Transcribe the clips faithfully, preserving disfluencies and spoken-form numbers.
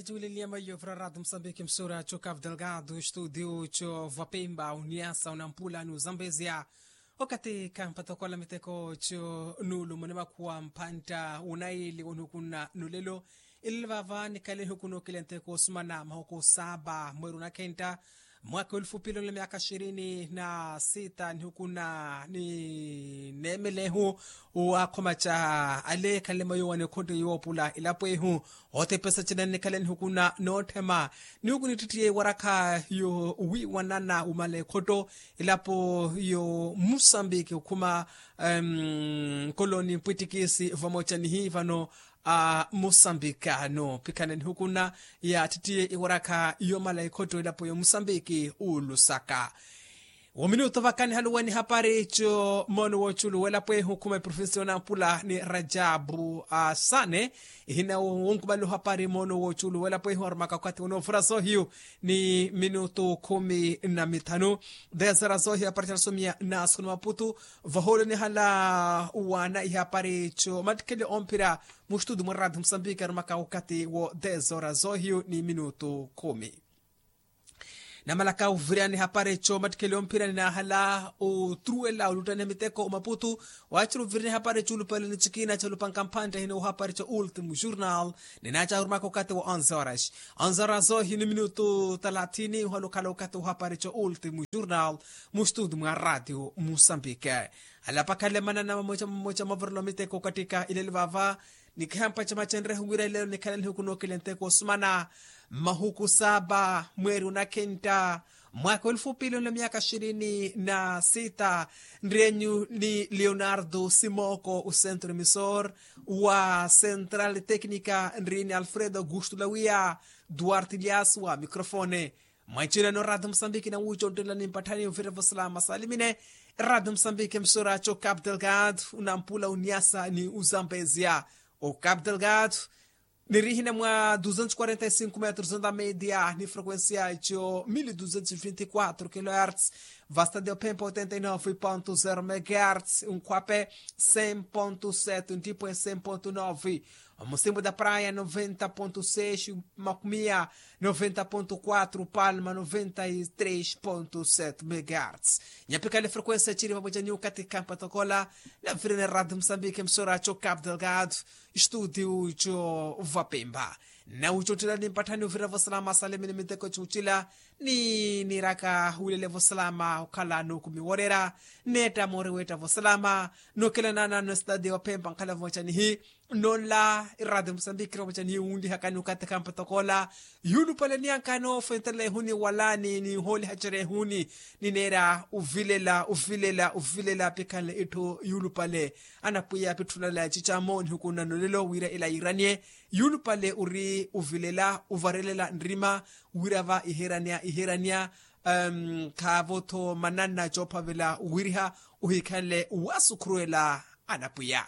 Tuuleliya maiyo vira ratu musambiki msura cho cabo delgado estudio cho vapemba uniasa unampula ni uzambezia. Okati kampatokola miteko cho nulu mune makhuwa mpantta unaili wonihukuna nulelo. Ilele vava nikale nihukuna okile nteko osumana mahuku saba mweru nakenta mwaka olufu pili onle myaka ishirini na sita nihukuna ni neemelehu. Wakhoma ca ale khale mayo wane khonto yoopula ilapo ehu. Otepesa cina nnikhala nihukuna nootthema nihukunittitthiye warakha yo wiiwanana wumala ekhotto ilapo yo musambiki okhuma nkoloni mpwittikisi vamoca nihiivano a musambiki ano pikhala nihukuna yaattitthiye iwarakha yomala ekhotto ilapo yo musambiki ulusaka. Wominuto vakanihaluweni hapari co moono woculu welapo ehu khuma eprovinsi yonampula ni rajabu asane ihina wonkumala ohapari moono woculu welapo ehu arumaka okathi wonoovura zohiyu ni minutu khumi na mithanu. Dezera zohiyu apari canasomiya naasukuna maputu vahoolonihala uwana ihapari co mattikhele omphira mustutu mwa radio musambiki arumaka okathi wo dezera zohiyu ni minutu khumi. Namalaka uvirani hapari co mattikheli omphirani naahala otruwela oluttaniha miteko omaputu. Waaciri uvirani hapari co ulupale ni cikina ca lupanka mphantte hina ohapari co ultimo jornal ninaaca arumaka okathi wa onze horas. Onze horas ohi ni minutu talathini ohala okhala okathi ohapari co ultimo jornal mustutu mwa radio musambike. Alapakale manana mamoca mamoca mavirelo miteko okatika ilele vava. Nikihampa camacenrehu wira ilelo nikhala nihuku nookile nteko osumana mahuku saba mweeri onakhentta mwaka olufu pili onle myaka ishirini na sita. Nrienyu ni leonardo simoko osentro emisor wa central tecnica nriini alfredo augusto lawia duarte lias wa microfone. Mwaicina no radio musambiki nawuuca onttelelani mpatthani ovira vosalama salimine. Radio musambiki emisora co cabo delgado unampula uniasa ni uzambezia. O cabo delgado nirihina mwa duzentos quarenta e cinco metros onda media ni frequencia co mil duzentos vinte quatro kilohertz. Vasta de opempa oitenta e nove ponto zero megahertz unkhwape cem ponto sete ntipwe cem ponto nove. Omusimbu da praia noventa ponto seis makumia noventa ponto quatro palma noventa e tres ponto sete megahertz. Nyapikale frequencia ciri vamwecaniu katika mpatokola na virene radio musambike msora co cabo delgado estudio co vapemba. Na ucottelani mpatthani uvira vosalama salimini miteko cucila ni niraka hulele vosalama okhala nokumiworera. Netta mori wetta vosalama nokelanana no estadi wa pempa nkhala vamwecanihi. Nonla iradi musambiki vamwecanihi wunlihakani okathi kampatokola yulupale niyankano fwentela ehuni walani ni hooliha cere ehuni. Nineera uvilela uvilela uvilela pikhanle itthu yulupale. Anapwiya pitthulala cica moonihukunna nolelo wira ila yiiraniye. Yulupale ori uvilela uvarelela nrima wira va iherania iherania. Khaavo-tho mananna coophavela wiriha ohikhanle wasukhuruwela. Anapwiya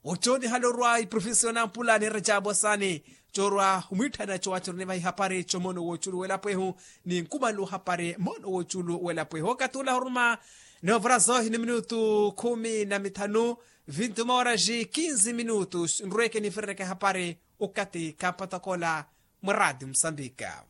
oco nihala orwa iprovinsi yonampula ni rajabu asani corwa omwiitthana cowaceroni vahi hapari co moono woculu welapo ehu ni nkumalu hapari moono woculu welapo ehu okathi ula huruma. Noovura zohi ni minutu khumi na mithanu vinti uma oraji kinzi minutu nrweke nifireneke hapari okathi kampatokola mwa radio musambika.